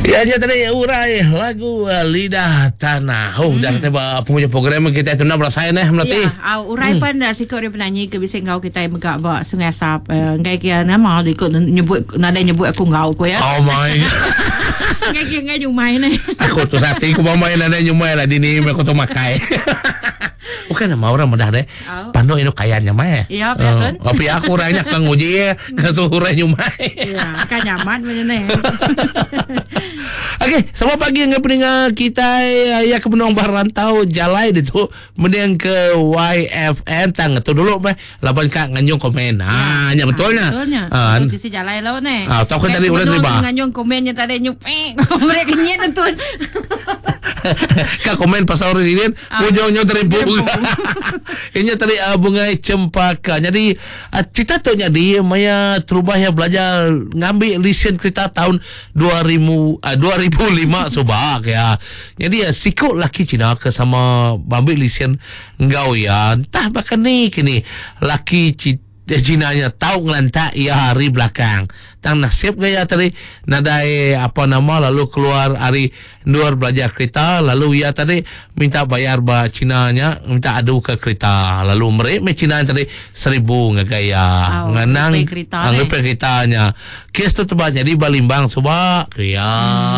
Ya nya tadi urai lagu eh, Lidah Tanah. Oh, mm. dah kita ba penghujung program kita tu nak berasai neh melati. Ya, au urai mm. pan dah siku ari penanyi ke bisi enggau kita mega ba Sungai Asap. Eh, enggai ke nama ikut nyebut nadai nyebut aku enggau ku ya. Oh my. Enggai ke enggai nyumai neh. Aku tu sati ku mamai nadai nyumai lah dini aku tu makai. Bukan nama orang mudah deh. Panduk indu kayan nya meh. Ya, pia tun. Oh, pia aku orang nya ke nguji ngasuh orang nyumai. Ya, kan nyaman macam ni. Okey, selamat pagi dengan pendengar kita ya ke benung bah rantau jalai ditu mending ke YFM tang tu dulu meh laban ka nganjung komen. Ha nya betul nya. Betul nya. Ha Betul sisi jalai lau ni. Ah, tau ke tadi udah terima. Nganjung komennya tadi nyupek. Mereka kenyit tu. Ka komen pasal residen Ujung nyu terimpu. Inya tadi uh, bungai cempaka. Jadi uh, cerita tu nyadi maya terubah ya belajar ngambil lesen kereta tahun 2000 uh, 2005 subak ya. Jadi uh, siku laki Cina ke sama ambil lesen enggau ya. Entah bahkan ni kini laki Cina nya tau ngelantak iya ari belakang. Tang nasib ga iya tadi nadai apa nama lalu keluar ari endur belajar kerita lalu iya tadi minta bayar ba Cina nya minta adu ke kerita lalu meri meh Cina nya tadi seribu ngagai iya. Au, Ngenang ngerepair kerita ah, deh. ngerepair kerita nya. Kes tu teba nyadi ba Limbang suba ku iya.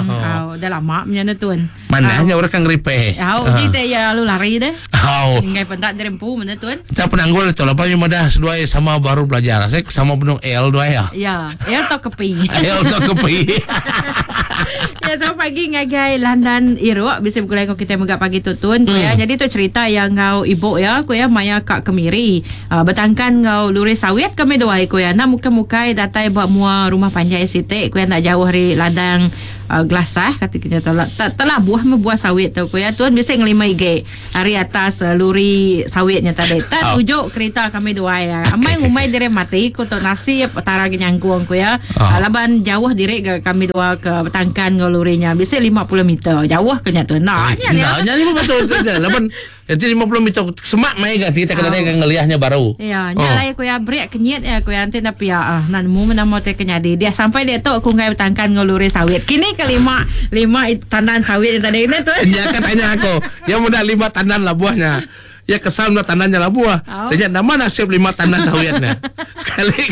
Hmm, au, dah lama menya ne tun. Manah Au. nya orang ke ngerepair. Au, Ah. ji te iya lalu lari deh. Au. Enggai peda diri empu menda tun. Entah penanggul tu laban nya madah seduai sama baru belajar. Saya sama benung L duai ya. Ya, L tau kepi. L tau kepi. ya, selamat pagi ngagai Landan Iruk bisi begulai enggau kita mega pagi tu tun. Ku ya. Jadi tu cerita ya enggau ibu ya, ku ya maya ka kemiri. Uh, betangkan enggau luri sawit kami duai ku ya. Enda mukai-mukai datai ba mua rumah panjai siti ku ya enda jauh ari ladang uh, gelasah kata kita telah telabuh meh buah sawit tu ku ya. Tun bisi ngelima igi. Ari atas luri sawit nya tadi. Tak oh. tuju kerita kami duai. Okay, Amai okay, ngumbai okay. diri mati ku tu nasib petara ke nyangkung ku ya. Oh. Laban jauh diri ke kami dua ke betangkan enggau luri nya. Bisi 50 meter. Jauh ke nya tu. Nah, nya nya. Nya ni betul tu. Laban Nanti 50 meter semak mai ga kita kena oh. ngeliahnya baru. Ya, nya oh. lai ku ya break kenyit ya ku ya nanti na pia ah. Nak nemu nama te kenyadi. Dia sampai dia tu aku ngai betangkan enggau luri sawit. Kini ke lima lima tandan sawit yang tadi ni tu. Nya kan tanya aku. Ya muda lima tandan lah buahnya. Ya kesal muda tandannya lah buah. Oh. Dia nama nasib lima tandan sawitnya. Sekali.